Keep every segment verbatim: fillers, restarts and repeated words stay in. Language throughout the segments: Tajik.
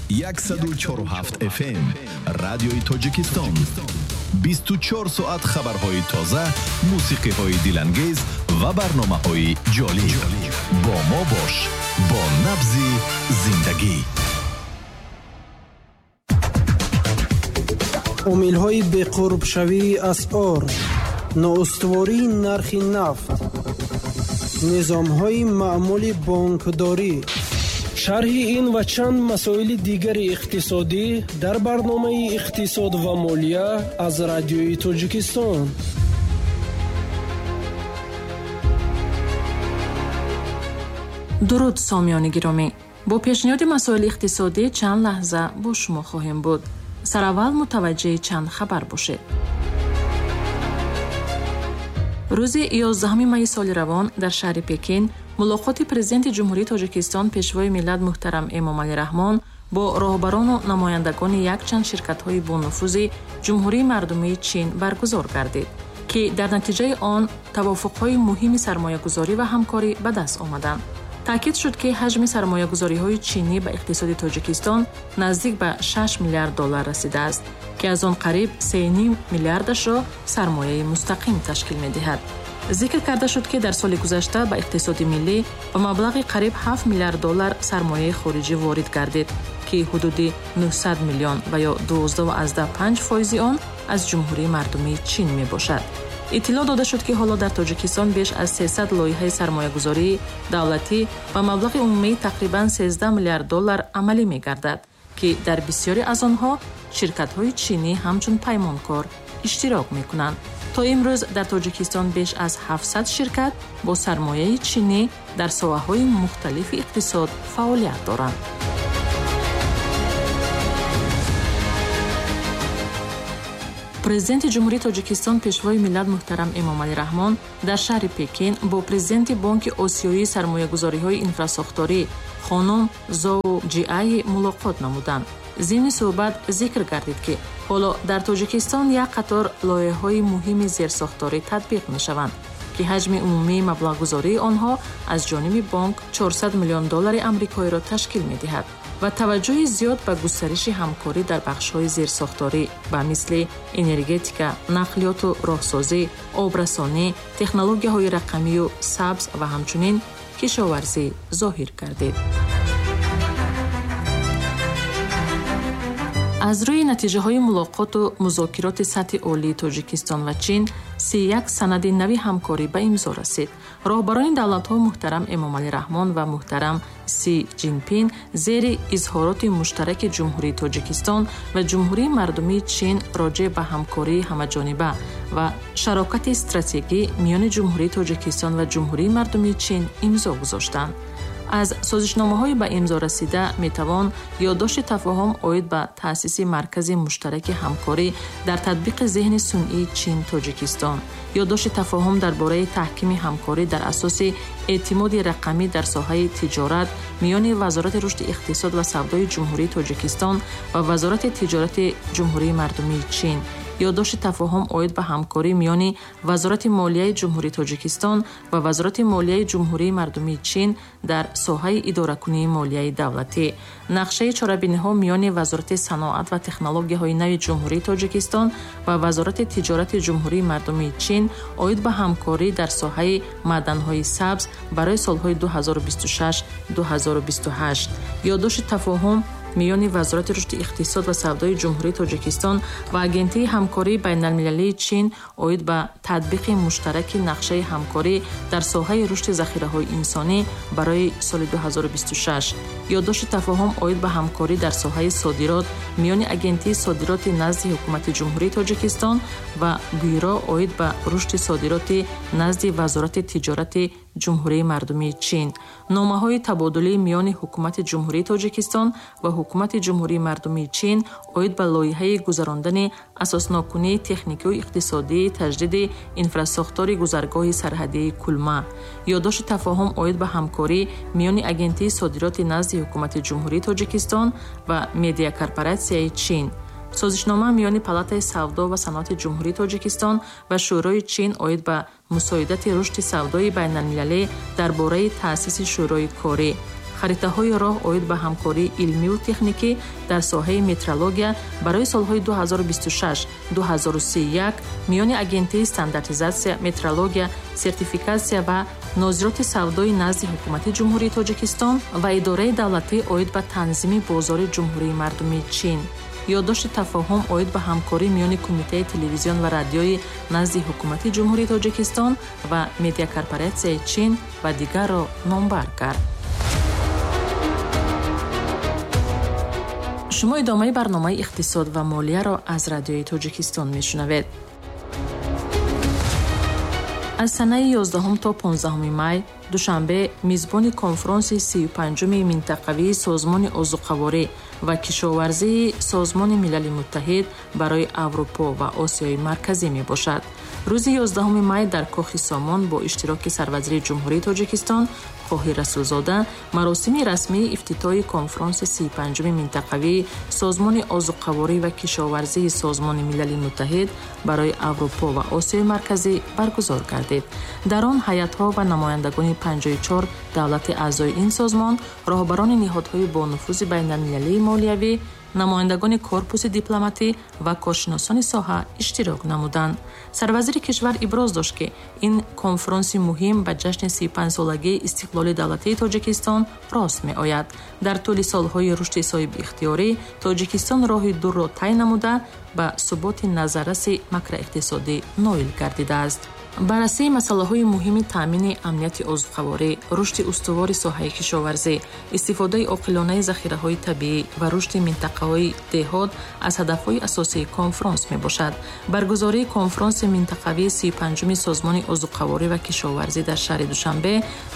Яксаду чору ҳафт эф эм Радиои Тоҷикистон. Бисту чор соат хабарҳои тоза, мусиқиҳои дилангез ва барномаҳои ҷолиб. Бо мо бош, бо набзи зиндагӣ. Омилҳои беқурбшавии асъор, ноустувории нархи нафт, низомҳои маъмули бонкдорӣ. Шарҳи ин ва чанд масоили дигари иқтисодӣ дар барномаи Иқтисод ва молия аз Радиои Тоҷикистон. Дуруд, сомиёни гиромӣ. Бо пешниҳоди масоили иқтисодӣ чанд лаҳза бо шумо хоҳем буд. Сараввал мутаваҷҷеҳи чанд хабар бошед. Рӯзи ёздаҳуми майи соли равон дар шаҳри Пекин мулоқоти президенти Ҷумҳурии Тоҷикистон Пешвои миллат муҳтарам Эмомалӣ Раҳмон бо роҳбарону намояндагони якчанд ширкатҳои бонуфузи Ҷумҳурии Мардумии Чин баргузор гардид, ки дар натиҷаи он тавофуқҳои муҳими сармоягузорӣ ва ҳамкорӣ ба даст омаданд. Таъкид шуд, ки ҳаҷми сармоягузориҳои чинӣ ба иқтисоди Тоҷикистон наздик ба шаш миллиард доллар расидааст, ки аз он қариб се ним миллиардашро сармояи мустақим ташкил медиҳад. Зикр карда шуд, ки дар соли гузашта ба иқтисоди миллӣ ба маблағи қариб ҳафт миллиард доллар сармояи хориҷӣ ворид гардид, ки ҳудуди нӯҳсад миллион ва ё дувоздаҳ аз даҳ панҷ фоизи он аз Ҷумҳурии Мардумии Чин мебошад. Иттилоъ дода шуд, ки ҳоло дар Тоҷикистон беш аз сесад лоиҳаи сармоягузории давлатӣ ба маблағи умумии тақрибан сездаҳ миллиард доллар амалӣ мегардад, ки дар бисёре аз онҳо ширкатҳои чинӣ ҳамчун паймонкор иштирок мекунанд. То имрӯз дар Тоҷикистон беш аз ҳафтсад ширкат бо сармояи чинӣ дар соҳаҳои мухталифи иқтисод фаъолият доранд. Президенти Ҷумҳурии Тоҷикистон Пешвои миллат муҳтарам Эмомалӣ Раҳмон дар шаҳри Пекин бо президенти Бонки Осиёии сармоягузориҳои инфрасохторӣ хонум Зоу Ҷиаи мулоқот намуданд. Зимни суҳбат зикр гардид, ки ҳоло дар Тоҷикистон як қатор лоиҳаҳои муҳими зерсохторӣ татбиқ мешаванд, ки ҳаҷми умумии маблағгузории онҳо аз ҷониби бонк чорсад миллион доллари амрикоиро ташкил медиҳад ва таваҷҷӯҳи зиёд ба густариши ҳамкорӣ дар бахшҳои зерсохторӣ ба мисли энергетика, нақлиёту роҳсозӣ, обрасонӣ, технологияҳои рақамию сабз ва ҳамчунин кишоварзӣ зоҳир гардид. Аз рӯи натиҷаҳои мулоқоту музокироти сатҳи олии Тоҷикистон ва Чин си як санади нави ҳамкорӣ ба имзо расид. Роҳбарони давлатҳо муҳтарам Эмомалӣ Раҳмон ва муҳтарам Си Ҷинпин зери изҳороти муштараки Ҷумҳурии Тоҷикистон ва Ҷумҳурии Мардумии Чин роҷеъ ба ҳамкории ҳамаҷониба ва шарокати стратегӣ миёни Ҷумҳурии Тоҷикистон ва Ҷумҳурии Мардумии Чин имзо гузоштанд. Аз созишномаҳои ба имзо расида метавон ёддошти тафоҳум оид ба таъсиси маркази муштараки ҳамкорӣ дар татбиқи зеҳни сунъии Чин-Тоҷикистон, ёддошти тафоҳум дар бораи таҳкими ҳамкорӣ дар асоси эътимоди рақамӣ дар соҳаи тиҷорат миёни Вазорати рушди иқтисод ва савдои Ҷумҳурии Тоҷикистон ва Вазорати тиҷорати Ҷумҳурии Мардумии Чин, ёддошти тафоҳум оид ба ҳамкорӣ миёни Вазорати молияи Ҷумҳурии Тоҷикистон ва Вазорати молияи Ҷумҳурии Мардумии Чин дар соҳаи идоракунии молияи давлатӣ, нақшаи чорабиниҳо миёни Вазорати саноат ва технологияҳои нави Ҷумҳурии Тоҷикистон ва Вазорати тиҷорати Ҷумҳурии Мардумии Чин оид ба ҳамкорӣ дар соҳаи маъданҳои сабз барои солҳои ду ҳазору бисту шаш ду ҳазору бисту ҳашт, ёддошти тафоҳум миёни Вазорати рушди иқтисод ва савдои Ҷумҳурии Тоҷикистон ва Агентии ҳамкории байналмилалии Чин оид ба татбиқи муштараки нақшаи ҳамкорӣ дар соҳаи рушди захираҳои инсонӣ барои соли ду ҳазору бисту шаш, ёддошти тафоҳум оид ба ҳамкорӣ дар соҳаи содирот миёни Агентии содироти назди Ҳукумати Ҷумҳурии Тоҷикистон ва Бюро оид ба рушди содироти назди Вазорати тиҷорати Ҷумҳурии Мардумии Чин, номаҳои табодулӣ миёни Ҳукумати Ҷумҳурии Тоҷикистон ва Ҳукумати Ҷумҳурии Мардумии Чин оид ба лоиҳаи гузарондани асоснокунии техникию иқтисодии таҷдиди инфрасохтори гузаргоҳи сарҳадии Кулма, ёддошти тафоҳум оид ба ҳамкорӣ миёни Агентии содироти назди Ҳукумати Ҷумҳурии Тоҷикистон ва Медиакорпоратсияи Чин, созишнома миёни Палатаи савдо ва саноати Ҷумҳурии Тоҷикистон ва Шӯрои Чин оид ба мусоидати рушди савдои байналмилалӣ дар бораи таъсиси шӯрои корӣ, Харитаҳои роҳ оид ба ҳамкории илмиву техникӣ дар соҳаи метрология барои солҳои ду ҳазору бисту шаш ду ҳазору сию як миёни Агентии стандартизатсия, метрология, сертификатсия ва нозироти савдои назди Ҳукумати Ҷумҳурии Тоҷикистон ва Идораи давлатӣ оид ба танзими бозори Ҷумҳурии Мардумии Чин. Ёддошти тафоҳум оид ба ҳамкорӣ миёни Кумитаи телевизион ва радиои назди Ҳукумати Ҷумҳурии Тоҷикистон ва Медиакорпоратсияи Чин ва дигарро номбар кард. Шумо идомаи барномаи иқтисод ва молияро аз Радиои Тоҷикистон мешунавед. Аз санаи ёздаҳум то понздаҳуми май Душанбе мизбони конфронси сию панҷуми минтақавии Созмони озуқаворӣ ва кишоварзии Созмони Милали Муттаҳид барои Аврупо ва Осиёи Марказӣ мебошад. Рӯзи ёздаҳуми май дар Кохи Сомон бо иштироки сарвазири Ҷумҳурии Тоҷикистон Қоҳир Расулзода маросими расмии ифтитоҳи конфронси сию панҷуми минтақавии Созмони озуқаворӣ ва кишоварзии Созмони Милали Муттаҳид барои Аврупо ва Осиёи Марказӣ баргузор гардид. Дар он ҳайатҳо ва намояндагони панҷоҳу чор давлати аъзои ин созмон, роҳбарони ниҳодҳои бонуфузи байналмилалии молиявӣ, намояндагони корпуси дипломатӣ ва коршиносони соҳа иштирок намуданд. Сарвазири кишвар иброз дошт, ки ин конфронси муҳим ба ҷашни сию панҷсолагии истиқлоли давлатии Тоҷикистон рост меояд. Дар тӯли солҳои рушди соҳибихтиёрӣ Тоҷикистон роҳи дурро тай намуда ба суботи назарраси макроиқтисодӣ ноил гардидааст. Баррасии масъалаҳои муҳими таъмини амнияти озуқаворӣ, рушди устувори соҳаи кишоварзӣ, истифодаи оқилонаи захираҳои табиӣ ва рушди минтақаҳои деҳот аз ҳадафҳои асосии конфронс мебошад. Баргузории конфронси минтақавии сию панҷуми Созмони озуқаворӣ ва кишоварзӣ дар шаҳри Душанбе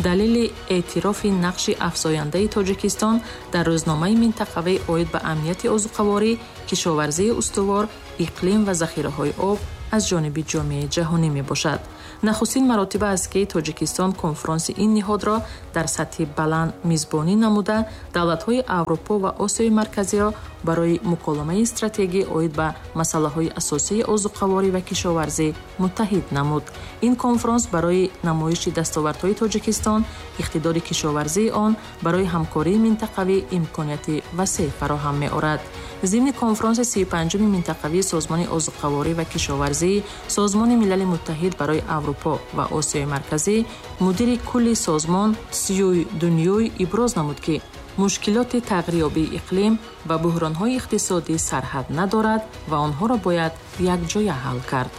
далели эътирофи нақши афзояндаи Тоҷикистон дар рӯзномаи минтақавӣ оид ба амнияти озуқаворӣ, кишоварзии устувор, иқлим ва захираҳои об аз ҷониби ҷомеаи ҷаҳонӣ мебошад. Нахустин маротиба аст, ки Тоҷикистон конфронси ин ниҳодро дар сатҳи баланд мизбонӣ намуда, давлатҳои Аврупо ва Осиёи Марказиро барои муколамаи стратегӣ оид ба масъалаҳои асосии озуқаворӣ ва кишоварзӣ муттаҳид намуд. Ин конфронс барои намоиши дастовардҳои Тоҷикистон, иқтидори кишоварзии он барои ҳамкории минтақавӣ имконияти васеъ фароҳам меорад. Зимни конфронси сию панҷуми минтақавии Созмони озуқаворӣ ва кишоварзии Созмони Милали Муттаҳид барои Аврупо ва Осиёи Марказӣ мудири кулли созмон Сюй Дунюй иброз намуд, ки мушкилоти тағйирёбии иқлим ва буҳронҳои иқтисодӣ сарҳад надорад ва онҳоро бояд якҷоя ҳал кард.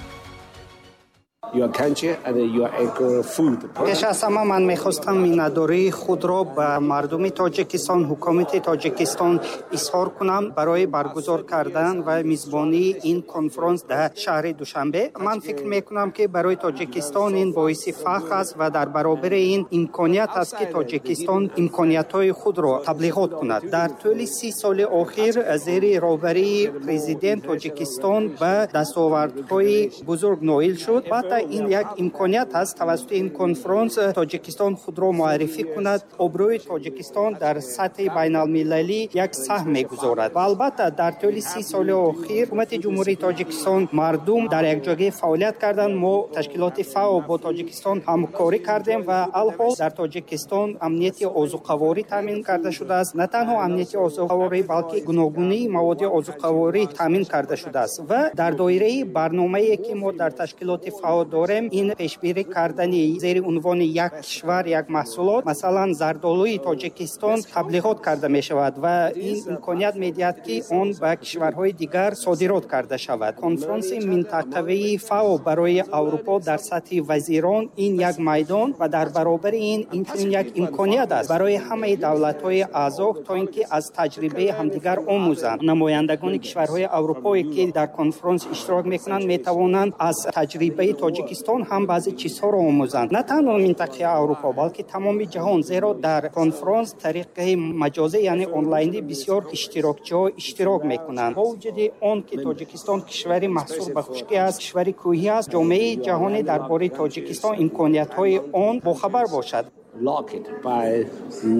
Пеш аз ҳама ман мехостам миннатдории худро ба мардуми Тоҷикистон, ҳукумати Тоҷикистон изҳор кунам барои баргузор кардан ва мизбонии ин конфронс дар шаҳри Душанбе. Ман фикр мекунам, ки барои Тоҷикистон ин боиси фахр аст ва дар баробари ин имконият аст, ки Тоҷикистон имкониятҳои худро таблиғот кунад. Дар тӯли си соли охир зери роҳбарии президент Тоҷикистон ба дастовардҳои бузург ноил шуд. Албатта ин як имконият аст, тавассути ин конфронс Тоҷикистон худро муаррифӣ кунад, обрӯи Тоҷикистон дар сатҳи байналмилалӣ як саҳм мегузорад. Ва албатта дар тӯли си соли охир ҳукумати Ҷумҳурии Тоҷикистон, мардум дар якҷоягӣ фаъолият карданд. Мо ташкилоти ФАО бо Тоҷикистон ҳамкорӣ кардем ва алҳол дар Тоҷикистон амнияти озуқаворӣ таъмин карда шудааст. На танҳо амнияти озуқаворӣ, балки гуногунии маводи озуқаворӣ таъмин карда шудааст ва дар доираи барномае, ки мо дар ташкилоти ФАО дорем, ин пешбинӣ кардани зери унвони як кишвар як маҳсулот, масалан зардолуи Тоҷикистон таблиғот карда мешавад ва ин имконият медиҳад, ки он ба кишварҳои дигар содирот карда шавад. Конфронси минтақавии ФАО барои Аврупо дар сатҳи вазирон ин як майдон ва дар баробари ин инчунин як имконият аст барои ҳамаи давлатҳои аъзо, то ин ки аз таҷрибаи ҳамдигар омӯзанд. Намояндагони кишварҳои аврупое, ки дар конфронс иштирок мекунанд, метавонанд аз таҷрибаи Тоҷикистон ҳам баъзе чизҳоро омӯзанд. На танҳо минтақаи Аврупо, балки тамоми ҷаҳон, зеро дар конфронс тариқаи маҷозӣ, яъне онлайнӣ бисёр иштирокчиҳо иштирок мекунанд. Бо вуҷуди он ки Тоҷикистон кишвари маҳсур ба хушкӣ аст, кишвари кӯҳӣ аст, ҷомеаи ҷаҳонӣ дар бораи Тоҷикистон, имкониятҳои он бохабар бошад. Locked by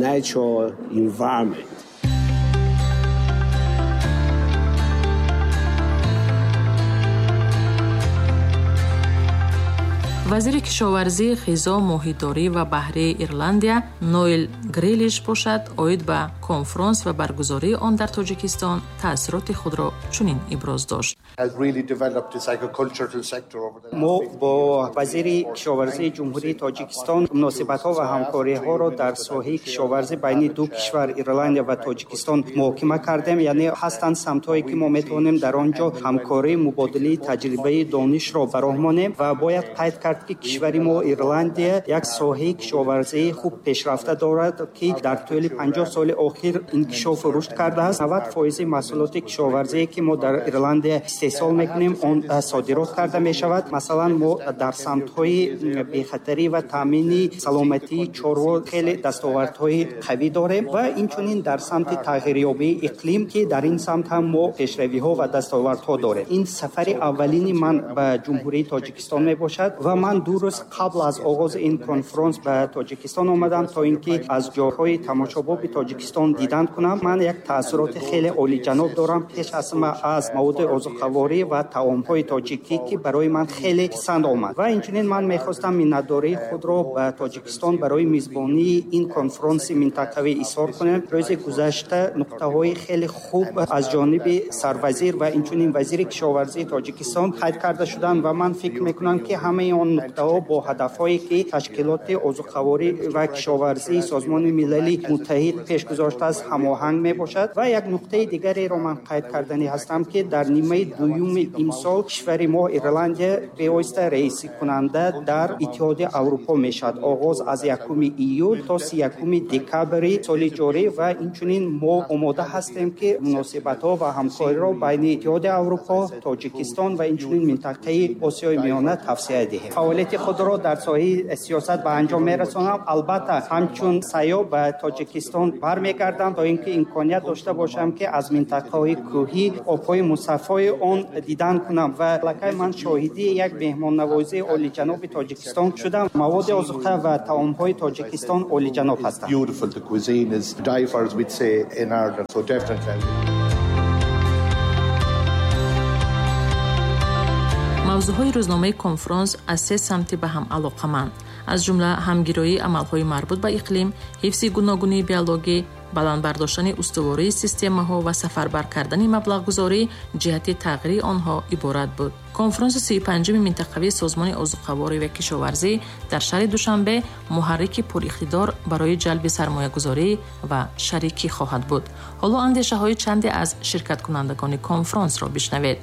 natural environment. Вазири кишоварзӣ, ғизо, моҳидорӣ ва баҳрии Ирландия Ноэл Грилиш бошад, оид ба конфронс ва баргузории он дар Тоҷикистон таассуроти худро чунин иброз дошт. Мо бо вазири кишоварзии Ҷумҳурии Тоҷикистон муносибатҳо ва ҳамкориҳоро дар соҳаи кишоварзӣ байни ду кишвар Ирландия ва Тоҷикистон муҳокима кардем. Яъне ҳастанд самтҳое, ки мо метавонем дар он ҷо ҳамкорӣ, мубодилаи таҷрибаи донишро ба роҳ монем ва бояд қайд кард, ки кишвари мо Ирландия як соҳаи кишоварзии хуб пешрафта дорад, ки дар тӯли панҷоҳ соли охир инкишофу рушд кардааст. навад фоизи маҳсулоти кишоварзие, ки мо дар Ирландия истеҳсол мекунем, он содирот карда мешавад. Масалан, мо дар самтҳои бехатарӣ ва таъмини саломатии чорво хеле дастовардҳои қавӣ дорем ва инчунин дар самти тағйирёбии иқлим, ки дар ин самт ҳам мо пешравиҳо ва дастовардҳо дорем. Ин сафари аввалини ман ба Ҷумҳурии Тоҷикистон мебошад ва ман ду рӯз қабл аз оғози ин конфронс ба Тоҷикистон омадам, то ин ки аз ҷойҳои тамошобоби Тоҷикистон дидан кунам. Ман як таассуроти хеле олиҷаноб дорам, пеш аз ҳама аз маводи озуқаворӣ ва таомҳои тоҷикӣ, ки барои ман хеле писанд омад. Ва инчунин ман мехостам миннатдории худро ба Тоҷикистон барои мизбонии ин конфронси минтақавӣ изҳор кунем. Рӯзи гузашта нуқтаҳои хеле хуб аз ҷониби сарвазир ва инчунин вазири кишоварзии Тоҷикистон қайд карда шуданд ва ман фикр мекунам, ки ҳамаи он нуқтаҳо бо ҳадафҳое, ки ташкилоти озуқаворӣ ва кишоварзии Созмони Милали Муттаҳид пеш гузоштааст, ҳамоҳанг мебошад. Ва як нуқтаи дигареро ман қайд карданӣ ҳастам, ки дар нимаи дуюми имсол кишвари мо Ирландия бевосита раисикунанда дар Иттиҳоди Аврупо мешавад. Оғоз аз якуми июл то сиякуми декабри соли ҷорӣ ва инчунин мо омода ҳастем, ки муносибатҳо ва ҳамкориро байни Иттиҳоди Аврупо, Тоҷикистон ва инчунин минтақаи Осиёи Миёна тавсия диҳем. Фаъолияти худро дар соҳаи сиёсат ба анҷом мерасонам. Албатта, ҳамчун сайёҳ ба Тоҷикистон бармегардам, то ин ки имконият дошта бошам, ки аз минтақаҳои кӯҳӣ, обҳои мусаффои он дидан кунам ва аллакай ман шоҳиди як меҳмоннавозии олиҷаноби Тоҷикистон шудам. Маводи озуқа ва таомҳои Тоҷикистон олиҷаноб ҳастанд. Мавзӯъҳои рӯзномаи конфронс аз се самти ба ҳам алоқаманд, аз ҷумла ҳамгироии амалҳои марбут ба иқлим, ҳифзи гуногунии биологӣ, баланд бардоштани устувории системаҳо ва сафарбар кардани маблағгузорӣ ҷиҳати тағйири онҳо иборат буд. Конфронси сию панҷуми минтақавии Созмони озуқаворӣ ва кишоварзӣ дар шаҳри Душанбе муҳаррики пуриқтидор барои ҷалби сармоягузорӣ ва шарикӣ хоҳад буд. Ҳоло андешаҳои чанде аз ширкаткунандагони конфронсро бишнавед.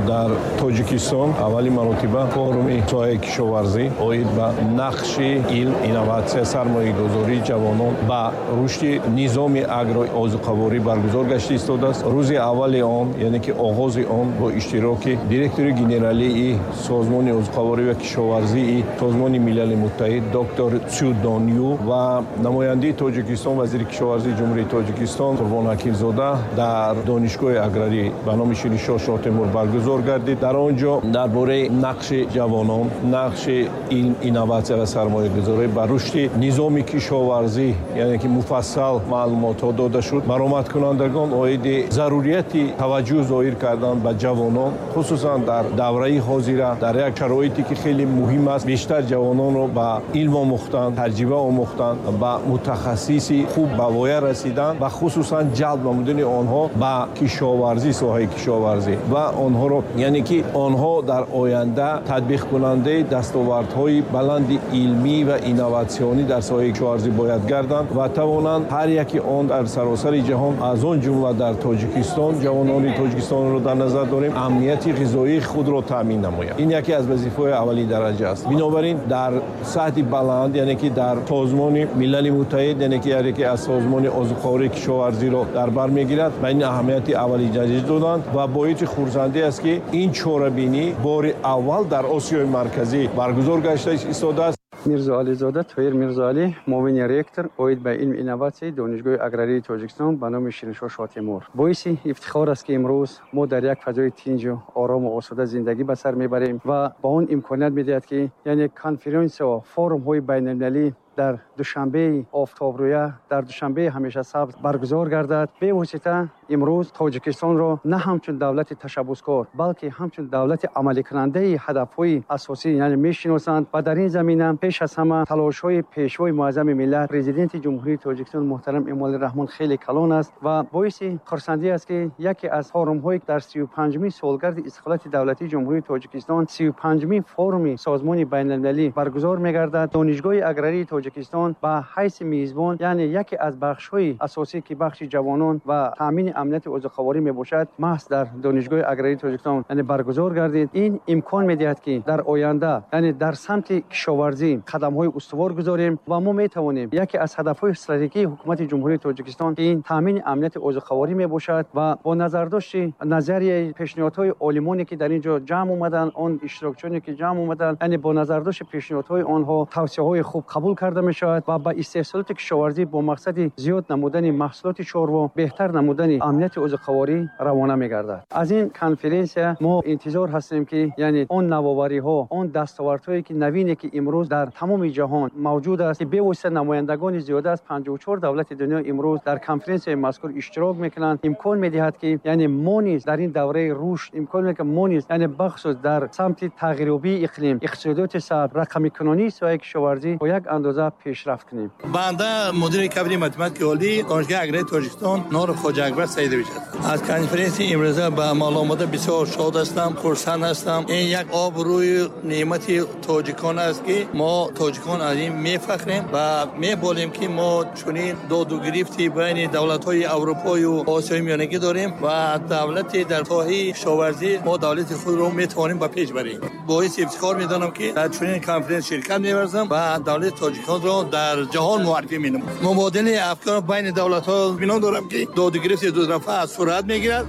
Дар Тоҷикистон аввали маротиба форуми соҳаи кишоварзӣ оид ба нақши илм, инноватсия, сармоягузории ҷавонон ба рушди низоми агроозуқаворӣ баргузор гашта истодааст. Рӯзи аввали он, яъне ки оғози он бо иштироки директори генералии Созмони озуқаворӣ ва кишоварзии Созмони Милали Муттаҳид доктор Цю Доню ва намояндаи Тоҷикистон, вазири кишоварзии Ҷумҳурии Тоҷикистон Қурбон Ҳакимзода дар Донишгоҳи аграрӣ ба номи Шириншоҳ Шоҳтемур баргузор гардид. Дар он ҷо дар бораи нақши ҷавонон, нақши илм, инноватсия ва сармоягузорӣ ба рушди низоми кишоварзӣ, яъне ки муфассал маълумотҳо дода шуд. Баромадкунандагон оиди зарурияти таваҷҷӯҳ зоҳир кардан ба ҷавонон, хусусан дар давраи ҳозира, дар як шароите ки хеле муҳим аст, бештар ҷавононро ба илм омӯхтан, таҷриба омӯхтан, ба мутахассиси хуб ба воя расидан ва хусусан ҷалб намудани онҳо ба кишоварзӣ, соҳаи кишоварзӣ ва онҳоро, яъне ки онҳо дар оянда татбиқкунандаи дастовардҳои баланди илмӣ ва инноватсионӣ дар соҳаи кишоварзӣ бояд гарданд ва тавонанд ҳар яки он дар саросари ҷаҳон, аз он ҷумла дар Тоҷикистон, ҷавонони Тоҷикистонро дар назар дорем, амнияти ғизоии худро таъмин намоянд. Ин яке аз вазифаҳои аввали дараҷа аст. Бинобар ин дар сатҳи баланд, яъне ки дар Созмони Милали Муттаҳид, яъне ки яке аз созмони озуқавории кишоварзиро дар бар мегирад, ба ин аҳамияти аввали дараҷа доданд ва боиси хурсандӣ аст, ки ин чорабинӣ бори аввал дар Осиёи Марказӣ баргузор гашта истодааст. Мирзоализода Тоир Мирзоалӣ, муовини ректор оид ба илм инноватсияи Донишгоҳи аграрии Тоҷикистон ба номи Шириншоҳ Шоҳтемур. Боиси ифтихор аст, ки имрӯз мо дар як фазои тинҷу орому осуда зиндагӣ ба сар мебарем ва ба он имконият медиҳад, ки яъне конференсияҳо, форумҳои байналмилалӣ дар Душанбеи офтобрӯя, дар Душанбеи ҳамеша сабз баргузор гардад. Бевосита имрӯз Тоҷикистонро на ҳамчун давлати ташаббускор, балки ҳамчун давлати амаликунандаи ҳадафҳои асосӣ яъне мешиносанд ва дар ин замина пеш аз ҳама талошҳои Пешвои муаззами миллат, Президенти Ҷумҳурии Тоҷикистон муҳтарам Эмомалӣ Раҳмон хеле калон аст ва боиси хурсандӣ аст, ки яке аз форумҳои дар сию панҷумин солгарди истиқлолияти давлатии Ҷумҳурии Тоҷикистон, сию панҷумин форуми Созмони байналмилалӣ баргузор мегардад. Донишгоҳи аграрии Тоҷикистон ба ҳайси мизбон, яъне яке аз бахшҳои асосӣ, ки бахши ҷавонон ва таъмини амнияти озуқаворӣ мебошад, маҳз дар Донишгоҳи аграрии Тоҷикистон яъне баргузор гардид. Ин имкон медиҳад, ки дар оянда яъне дар самти кишоварзӣ қадамҳои устувор гузорем ва мо метавонем яке аз ҳадафҳои стратегии Ҳукумати Ҷумҳурии Тоҷикистон, ки ин таъмини амнияти озуқаворӣ мебошад ва бо назардошти назарияи пешниҳодҳои олимоне, ки дар ин ҷо ҷамъ омаданд, он иштирокчиёне, ки ҷамъ омаданд, яъне бо назардошти пешниҳодҳои онҳо тавсияҳои хуб қабул карда мешавад ва ба истеҳсолоти кишоварзӣ бо мақсади зиёд намудани маҳсулоти чорво, беҳтар намудани амнияти озуқаворӣ равона мегардад. Аз ин конференсия мо интизор ҳастем, ки яъне он навовариҳо, он дастовардҳое, ки навине, ки имрӯз дар тамоми ҷаҳон мавҷуд аст, ки бевосита намояндагони зиёда аз панҷоҳу чор давлати дунё имрӯз дар конференсияи мазкур иштирок мекунанд, имкон медиҳад, ки яъне мо низ дар ин давраи рушд, имкон медиҳад, ки мо низ яъне бахусус дар самти тағйирёбии иқлим, иқтисодиёти сабз, рақамикунонии соҳаи кишоварзӣ бо як андоза пешрафт кунем. Банда мудири кафедраи математикаи олии Донишгоҳи аграрии Тоҷикистон Норов Хоҷа Акбар Саидович аст. Аз конференсияи имрӯза ба амал омада бисёр шод ҳастам, хурсанд ҳастам. Ин як обрӯи неъмати тоҷикон аст, ки мо тоҷикон аз ин мефахрем ва меболем, ки мо чунин доду гирифти байни давлатҳои Аврупою Осиёи Миёнагӣ дорем ва давлати дар соҳаи кишоварзӣ мо давлати худро метавонем ба пеш барем. Боиси ифтихор медонам, ки дар чунин конференс ширкат меварзам ва давлати тоҷиконро дар ҷаҳон муаррифӣ менамоям. Мубодилаи афкор байни давлатҳо бино дорам, ки доду гирифти дутарафа сурат мегирад.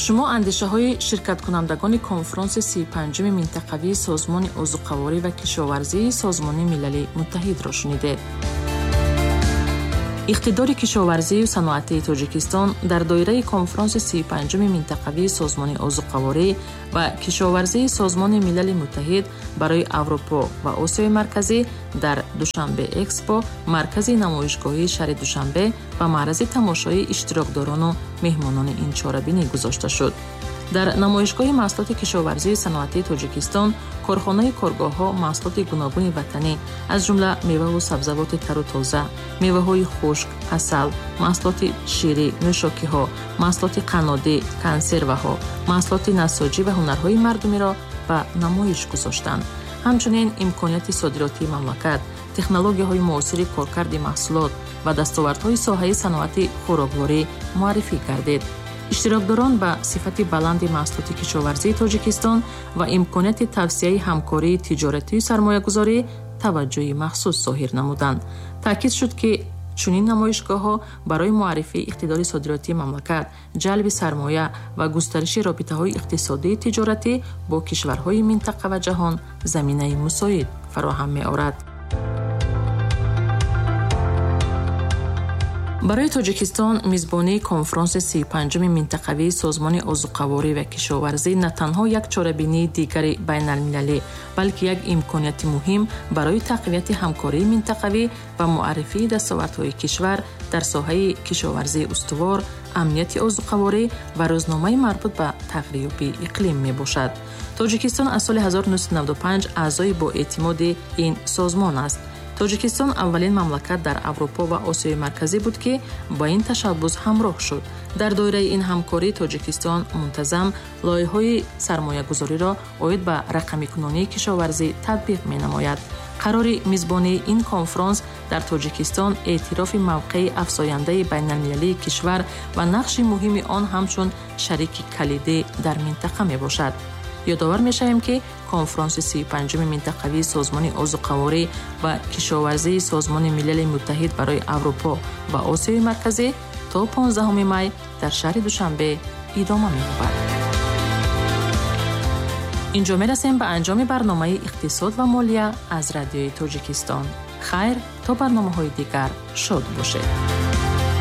Шумо андешаҳои ширкаткунандагони конфронси сию панҷуми минтақавии Созмони озуқаворӣ ва кишоварзии Созмони Милали Муттаҳидро шунидед. Иқтидори кишоварзию саноатии Тоҷикистон дар доираи конфронси сию панҷуми минтақавии Созмони озуқаворӣ ва кишоварзии Созмони Милали Муттаҳид барои Аврупо ва Осиёи Марказӣ дар Душанбе Экспо, маркази намоишгоҳии шаҳри Душанбе ба маърази тамошои иштирокдорону меҳмонони ин чорабинӣ гузошта шуд. Дар намоишгоҳи маҳсулоти кишоварзии саноатии Тоҷикистон корхонаи коргоҳҳо маҳсулоти гуногуни ватанӣ, аз ҷумла меваву сабзавоти тару тоза, меваҳои хушк, асал, маҳсулоти ширӣ, нӯшокиҳо, маҳсулоти қаннодӣ, консерваҳо, маҳсулоти насоҷӣ ва ҳунарҳои мардумиро ба намоиш гузоштанд. Ҳамчунин имконияти содиротии мамлакат, технологияҳои муосири коркарди маҳсулот ва дастовардҳои соҳаи саноати хӯрокворӣ муаррифӣ гардид. Иштирокдорон ба сифати баланди маҳсулоти кишоварзии Тоҷикистон ва имконияти тавсияи ҳамкории тиҷоратию сармоягузорӣ таваҷҷӯҳи махсус зоҳир намуданд. Таъкид шуд, ки чунин намоишгоҳҳо барои муаррифии иқтидори содиротии мамлакат, ҷалби сармоя ва густариши робитаҳои иқтисодии тиҷоратӣ бо кишварҳои минтақа ва ҷаҳон заминаи мусоид фароҳам меорад. Барои Тоҷикистон мизбонии конфронси сию панҷуми минтақавии Созмони озуқаворӣ ва кишоварзӣ на танҳо як чорабинии дигари байналмилалӣ, балки як имконияти муҳим барои тақвияти ҳамкории минтақавӣ ва муаррифии дастовардҳои кишвар дар соҳаи кишоварзии устувор, амнияти озуқаворӣ ва рӯзномаи марбут ба тағйирёбии иқлим мебошад. Тоҷикистон аз соли ҳазору нӯҳсаду наваду панҷ аъзои боэътимоди ин созмон аст. Тоҷикистон аввалин мамлакат дар Аврупо ва Осиёи Марказӣ буд, ки ба ин ташаббус ҳамроҳ шуд. Дар доираи ин ҳамкорӣ Тоҷикистон мунтазам лоиҳаҳои сармоягузориро оид ба рақамикунонии кишоварзӣ татбиқ менамояд. Қарори мизбонии ин конфронс дар Тоҷикистон эътирофи мавқеи афзояндаи байналмилалии кишвар ва нақши муҳими он ҳамчун шарики калидӣ дар минтақа мебошад. Ёдовар мешавем, ки конфронси сию панҷуми минтақавии Созмони озуқаворӣ ва кишоварзии Созмони Милали Муттаҳид барои Аврупо ва Осиёи Марказӣ то понздаҳуми май дар шаҳри Душанбе идома меёбад. Инҷо мерасем ба анҷоми барномаи иқтисод ва молия аз Радиои Тоҷикистон. Хайр, то барномаҳои дигар шод бошед.